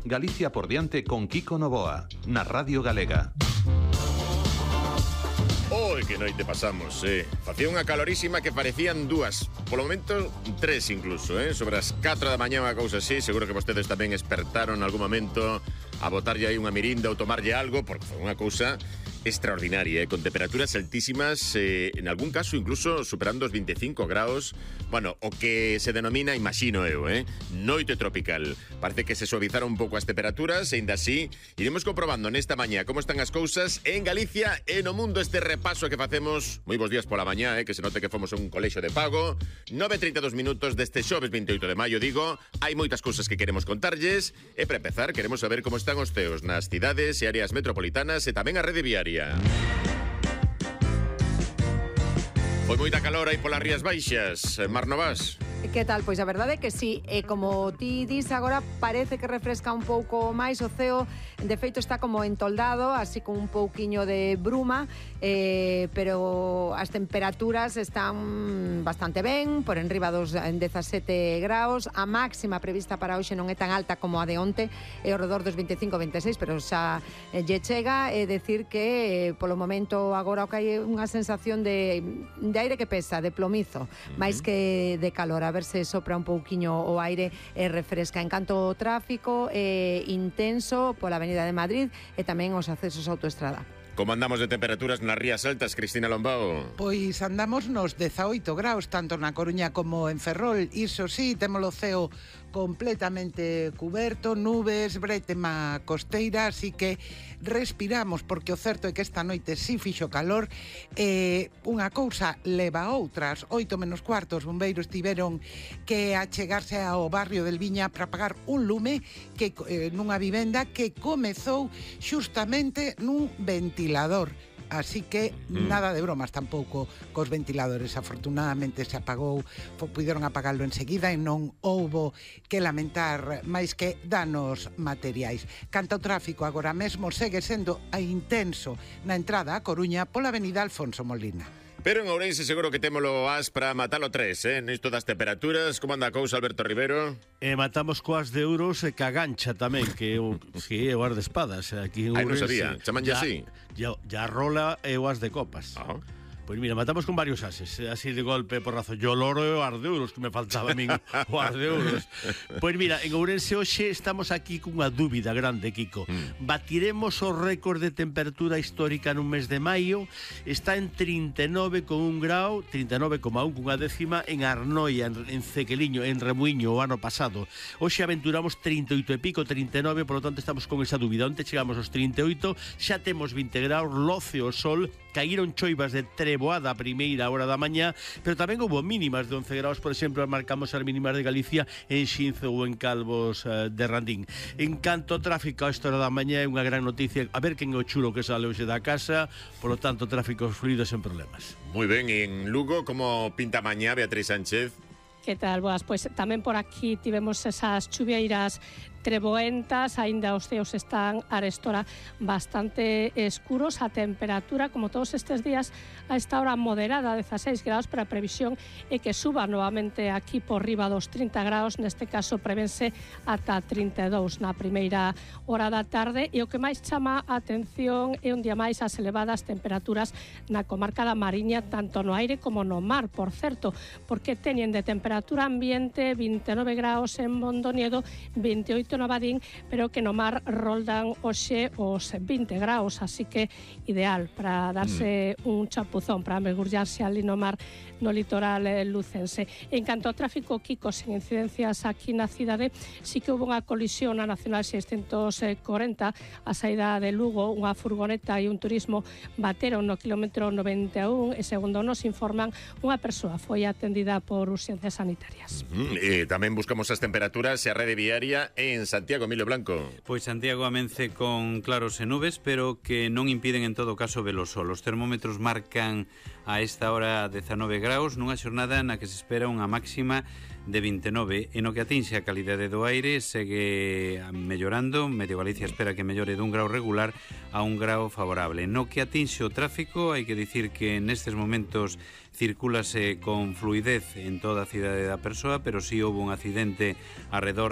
Galicia por diante con Kiko Novoa, na Radio Galega. Oi, que noite pasamos, Facía unha calorísima que parecían dúas, polo momento tres incluso, sobre as 4 da mañá, unha cousa así. Seguro que vostedes tamén espertaron algún momento a botarlle aí unha mirinda ou tomarlle algo, porque foi unha cousa extraordinaria, con temperaturas altísimas, en algún caso incluso superando os 25 graus. Bueno, o que se denomina, imagino eu, noite tropical. Parece que se suavizaron un pouco as temperaturas, e ainda así iremos comprobando nesta mañá como están as cousas en Galicia e no mundo. Este repaso que facemos, moi bons días pola mañá, que se note que fomos un colexio de pago. 9:32 minutos deste xoves 28 de maio, digo. Hai moitas cousas que queremos contarlles, e para empezar queremos saber como están os ceos nas cidades e áreas metropolitanas e tamén a rede viaria. Foi moita calor aí polas Rías Baixas, Mar Novas. Que tal? Pois a verdade é que sí, como ti dis agora, parece que refresca un pouco máis o ceo. De feito está como entoldado, así con un pouquiño de bruma, pero as temperaturas están bastante ben, por enriba dos 17 graus. A máxima prevista para hoxe non é tan alta como a de onte, é ao redor dos 25-26, pero xa lle chega. É decir que polo momento agora o que hai é unha sensación de aire que pesa, de plomizo, máis que de calor. A ver se sopra un pouquiño o aire e refresca. En canto ao tráfico, intenso pola Avenida de Madrid e tamén os accesos á autoestrada. Como andamos de temperaturas nas Rías Altas, Cristina Lombao? Pois andamos nos 18 graus, tanto na Coruña como en Ferrol. Iso sí, temos o ceo completamente cuberto, nubes, bretema costeira, así que respiramos, porque o certo é que esta noite sí fixo calor. Unha cousa leva a outras. 8:15, os bombeiros tiveron que achegarse ao barrio del Viña para apagar un lume que nunha vivenda que comezou xustamente nun ventilador. Así que nada de bromas tampouco cos ventiladores. Afortunadamente se apagou, puideron apagalo enseguida e non houbo que lamentar máis que danos materiais. Canto ao tráfico, agora mesmo segue sendo intenso na entrada a Coruña pola avenida Alfonso Molina. Pero en Ourense seguro que témolo as para matalo tres, nisto das temperaturas. Como anda a cousa, Alberto Rivero? Matamos coas de euros e cagancha tamén, que é o as de espadas aquí en Non Ourense. sabía, chamanlle así. Ya rola e o as de copas. Pois mira, matamos con varios ases, así de golpe, porrazo. Yo loro e o ar de euros, que me faltaba a min o ar de euros. Pois mira, en Ourense hoxe estamos aquí cunha dúbida grande, Kiko. Batiremos o récord de temperatura histórica nun mes de maio. Está en 39,1 grau, 39,1 cunha décima en Arnoia, en Cequeliño, en Remuiño, o ano pasado. Hoxe aventuramos 38 e pico, 39, por lo tanto estamos con esa dúbida. Onte chegamos aos 38, xa temos 20 graus, loce o sol, caíron choivas de treboada a primeira hora da mañá, pero tamén houve mínimas de 11 graus, por exemplo, marcamos as mínimas de Galicia en Xinzo ou en Calvos de Randín. En canto ao tráfico, a esta hora da mañá é unha gran noticia, a ver quen é o chulo que sale hoxe da casa, por lo tanto, tráfico fluido sen problemas. Moi ben, en Lugo, como pinta mañá, Beatriz Sánchez? Que tal, boas? Pois tamén por aquí tivemos esas chuvieiras treboentas, aínda os ceos están arestora bastante escuros. A temperatura, como todos estes días, a esta hora moderada, 16 graus, pero a previsión é que suba novamente aquí por riba dos 30 graus, neste caso prevense ata 32 na primeira hora da tarde, e o que máis chama a atención é un día máis as elevadas temperaturas na comarca da Mariña, tanto no aire como no mar, por certo, porque teñen de temperatura ambiente 29 graus en Mondoñedo, 28 no Badín, pero que no mar roldan hoxe os 20 graus, así que ideal para darse un chapuzón, para mergullarse ali no mar, no litoral lucense. En canto ao tráfico, Kiko, sin incidencias aquí na cidade, sí que houve unha colisión na Nacional 640 a saída de Lugo, unha furgoneta e un turismo bateron no kilómetro 91 e, segundo nos informan, unha persoa foi atendida por urxencias sanitarias. Tamén buscamos as temperaturas e a rede viaria en Santiago, Emilio Blanco. Pois Santiago amence con claros e nubes, pero que non impiden en todo caso ver o sol. Os termómetros marcan a esta hora 19 graus, nunha xornada na que se espera unha máxima de 29. E no que atinxe a calidade do aire segue mellorando. Medio Galicia espera que mellore dun grau regular a un grau favorable. No que atinxe o tráfico, hai que dicir que nestes momentos circúlase con fluidez en toda a cidade da persoa, pero si houve un accidente arredor